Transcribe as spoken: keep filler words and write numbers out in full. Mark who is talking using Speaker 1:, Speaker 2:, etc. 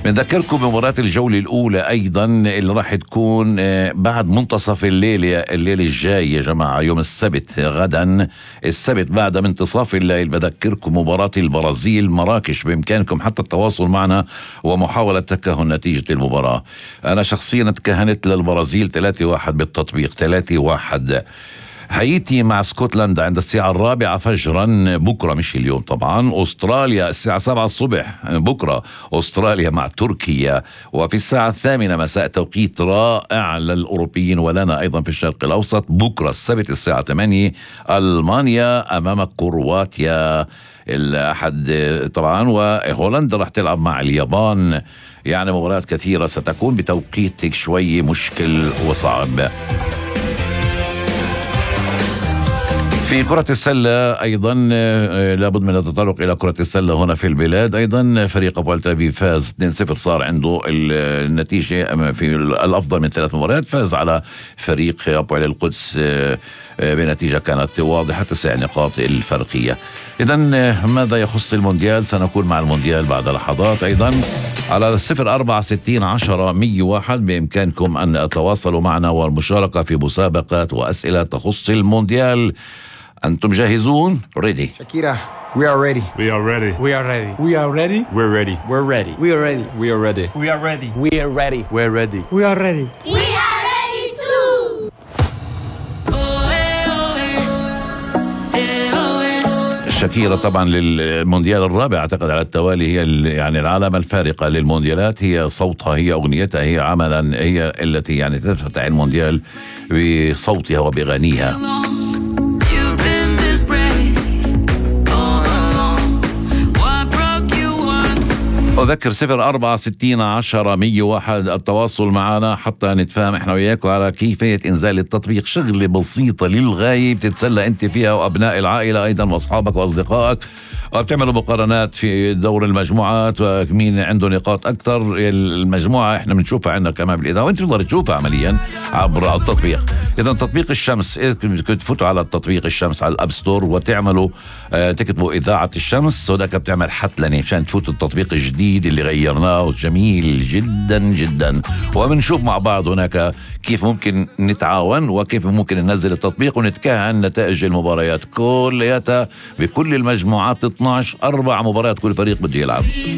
Speaker 1: بنذكركم بمباراة الجولة الأولى أيضا اللي راح تكون بعد منتصف الليل الليل الجاي يا جماعة، يوم السبت غدا السبت بعد منتصف الليل. بذكركم مباراة البرازيل مراكش، بإمكانكم حتى التواصل معنا ومحاولة تكهن نتيجة المباراة. أنا شخصيا تكهنت للبرازيل ثلاثة واحد بالتطبيق، ثلاثة واحد. هايتي مع اسكتلندا عند الساعة الرابعة فجرا بكرة، مش اليوم طبعا. أستراليا الساعة سبعة الصبح بكرة، أستراليا مع تركيا. وفي الساعة الثامنة مساء توقيت رائع للأوروبيين ولنا أيضا في الشرق الأوسط بكرة السبت الساعة ثمانية ألمانيا أمام كرواتيا الأحد طبعا. وهولندا راح تلعب مع اليابان. يعني مباريات كثيرة ستكون بتوقيتك شوي مشكل وصعب. في كرة السلة أيضا لابد من التطرق إلى كرة السلة هنا في البلاد. أيضا فريق أبو التافي فاز اثنين صفر، صار عنده النتيجة في الأفضل من ثلاث مباريات، فاز على فريق أبو علي القدس بنتيجة كانت واضحة، تسع نقاط الفرقية. إذن ماذا يخص المونديال؟ سنكون مع المونديال بعد لحظات. أيضا على صفر أربعة ستين عشرة مية واحد بإمكانكم أن تتواصلوا معنا والمشاركة في مسابقات وأسئلة تخص المونديال. أنتم جاهزون؟ Ready.
Speaker 2: Shakira, we are ready.
Speaker 3: We are ready.
Speaker 4: We are ready.
Speaker 3: We are ready.
Speaker 4: We're ready.
Speaker 3: We're ready.
Speaker 4: We are ready.
Speaker 3: We are ready.
Speaker 4: We are ready.
Speaker 5: We are ready.
Speaker 4: We're ready.
Speaker 5: We are ready.
Speaker 6: We are ready too.
Speaker 1: شاكيرا طبعا للمونديال الرابع اعتقد على التوالي، هي يعني العلامة الفارقة للمونديالات، هي صوتها، هي اغنيتها، هي عملا، هي التي يعني تفتح المونديال بصوتها وبغنيها. أذكر صفر أربعة ستين عشرة مية واحد التواصل معنا حتى نتفاهم احنا وياكم على كيفية إنزال التطبيق. شغلة بسيطة للغاية بتتسلى أنت فيها وأبناء العائلة أيضا وأصحابك وأصدقائك، وبتعملوا مقارنات في دور المجموعات ومين عنده نقاط أكثر. المجموعة احنا بنشوفها عندنا كمان بالإذاعة وأنت تقدر تشوفها عمليا عبر التطبيق. إذا تطبيق الشمس، تفوتوا على التطبيق الشمس على الأب ستور وتعملوا اه تكتبوا إذاعة الشمس، وذاك بتعمل حتلني عشان تفوتوا التطبيق الجديد اللي غيرناه جميل جدا جدا. وبنشوف مع بعض هناك كيف ممكن نتعاون وكيف ممكن ننزل التطبيق ونتكهن نتائج المباريات كلياتها بكل المجموعات اثناشر، أربع مباريات كل فريق بده يلعب.